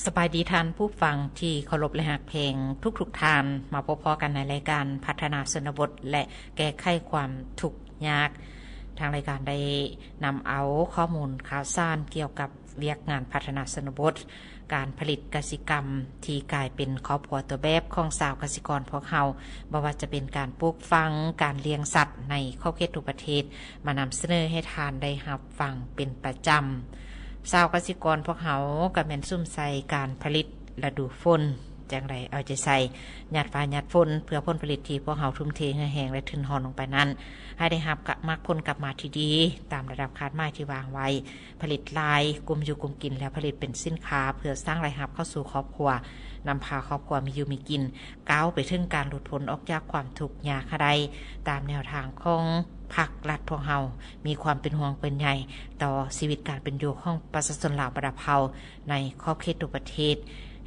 ສະບາຍດີທ່ານຜູ້ຟັງທີ່ເຄົາລົບ ແລະ ຮັກແພງທຸກໆທ່ານ. ມາພົບພໍ້ກັນໃນລາຍການພັດທະນາຊົນນະບົດ ແລະ ແກ້ໄຂຄວາມທຸກຍາກ. ທາງລາຍການໄດ້ນຳເອົາຂໍ້ມູນຂ່າວສານກ່ຽວກັບວຽກງານພັດທະນາຊົນນະບົດ, ການຜະລິດກະສິກຳທີ່ກາຍເປັນຄອບຄົວຕົວແບບຂອງຊາວກະສິກອນພວກເຮົາ, ບໍ່ວ່າຈະເປັນການປູກຝັງ, ການລ້ຽງສັດໃນຂອບເຂດທົ່ວປະເທດ, ມານຳສະເໜີໃຫ້ທ່ານໄດ້ຮັບຟັງເປັນປະຈຳ. ຊາວກະສິກອນພວກເຮົາກໍແມ່ນສຸມໃສ່ການຜະລິດລະດູຝົນ, ຈັ່ງໃດເອົາໃຈໃສ່ ຫຍາດຟ້າຫຍາດຝົນ ເພື່ອຜົນຜະລິດທີ່ພວກເຮົາທຸ່ມເທເຫື່ອແຮງ ແລະ ທຶນຮອນລົງໄປນັ້ນ ໃຫ້ໄດ້ຮັບກັບ ມັກຜົນກັບມາທີ່ດີ ຕາມລະດັບຄາດໝາຍທີ່ວາງໄວ້, ຜະລິດຫຼາຍ, ກຸມຢູ່ກຸມກິນ ແລ້ວຜະລິດເປັນສິນຄ້າ ເພື່ອສ້າງລາຍຮັບເຂົ້າສູ່ຄອບຄົວ, ນຳພາຄອບຄົວມີຢູ່ມີກິນ, ກ້າວໄປເຖິງການຫຼຸດພົ້ນອອກຈາກຄວາມທຸກຍາກໃຫ້ໄດ້, ຕາມແນວທາງຂອງພັກລັດພວກເຮົາ ມີຄວາມເປັນຫ່ວງເປັນໃຍຕໍ່ຊີວິດການເປັນຢູ່ຂອງປະຊາຊົນລາວບັນດາເຜົ່າໃນຂອບເຂດທົ່ວປະເທດ.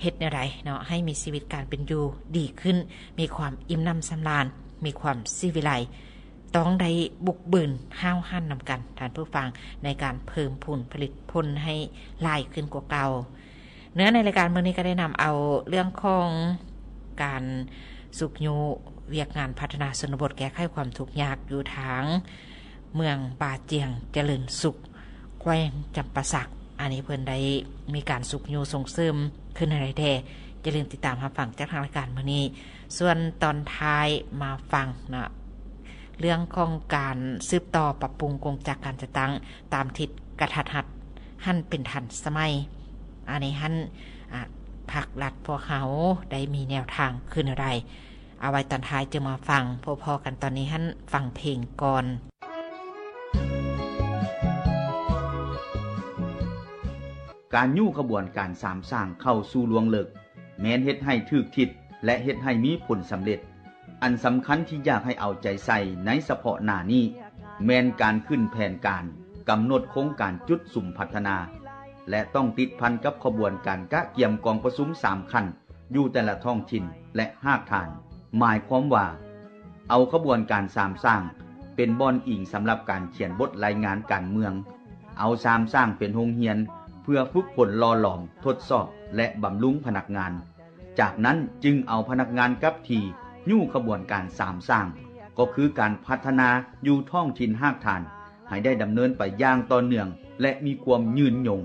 ເຮັດແນວໃດເນາະ ໃຫ້ມີຊີວິດການເປັນຢູ່ດີຂຶ້ນ, ມີຄວາມອີ່ມໜຳສຳລານ, ມີຄວາມສີວິໄລ, ຕ້ອງໄດ້ບຸກບືນຫ້າວຫັນນຳກັນ, ທ່ານຜູ້ຟັງ, ໃນການເພີ່ມພູນຜະລິດຜົນໃຫ້ຫຼາຍຂຶ້ນກວ່າເກົ່າ. ເນື້ອໃນລາຍການມື້ນີ້ກໍໄດ້ນຳເອົາເລື່ອງຂອງການຊຸກຍູ້ວຽກງານພັດທະນາຊົນນະບົດ ແກ້ໄຂຄວາມທຸກຍາກຢູ່ທາງເມືອງປ່າຈຽງຈະເລີນສຸກ ແຂວງຈຳປາສັກ. ອັນນີ້ເພິ່ນໄດ້ມີການຊຸກຍູ້ສົ່ງເສີມຂຶ້ນໃຫ້ແດ່. ຢ່າລືມຕິດຕາມຮັບຟັງຈາກທາງລາຍການມື້ນີ້. ສ່ວນຕອນທ້າຍມາຟັງເນາະ ເລື່ອງຂອງການສືບຕໍ່ປັບປຸງກົງຈັກການຈັດຕັ້ງຕາມທິດກະທັດຮັດ ຫັນເປັນທັນສະໄໝ. ອັນນີ້ຫັ້ນ ອາ ພັກລັດພວກເຮົາໄດ້ມີແນວທາງຄືແນວໃດ? ເອົາໄວ້ຕອນທ້າຍຈຶ່ງມາຟັງ. ພົບພໍ້ກັນຕອນນີ້ຫັ້ນ ຟັງເພງກ່ອນ. ການຍູ້ຂະບວນການສາມສ້າງເຂົ້າສູ່ລວງເລິກ ແມ່ນເຮັດໃຫ້ຖືກທິດ ແລະ ເຮັດໃຫ້ມີຜົນສຳເລັດ. ອັນສຳຄັນທີ່ຢາກໃຫ້ເອົາໃຈໃສ່ໃນສະເພາະໜ້ານີ້ ແມ່ນການຂຶ້ນແຜນການ, ກຳນົດໂຄງການຈຸດສຸມພັດທະນາ ແລະ ຕ້ອງຕິດພັນກັບຂະບວນການກະກຽມກອງປະຊຸມສາມຂັ້ນ ຢູ່ແຕ່ລະທ້ອງຖິ່ນ ແລະ ຮາກຖານ. ໝາຍຄວາມວ່າ ເອົາຂະບວນການສາມສ້າງເປັນບ່ອນອີງສຳລັບການຂຽນບົດລາຍງານການເມືອງ, ເອົາສາມສ້າງເປັນໂຮງຮຽນເພື່ອຝຶກຝົນຫຼໍ່ຫຼອມ, ທົດສອບ ແລະ ບຳລຸງພະນັກງານ. ຈາກນັ້ນຈຶ່ງເອົາພະນັກງານກັບທີ່ຍູ້ຂະບວນການສາມສ້າງ, ກໍຄືການພັດທະນາຢູ່ທ້ອງຖິ່ນຮາກຖານ ໃຫ້ໄດ້ດຳເນີນໄປຢ່າງຕໍ່ເນື່ອງ ແລະ ມີຄວາມຍືນຍົງ.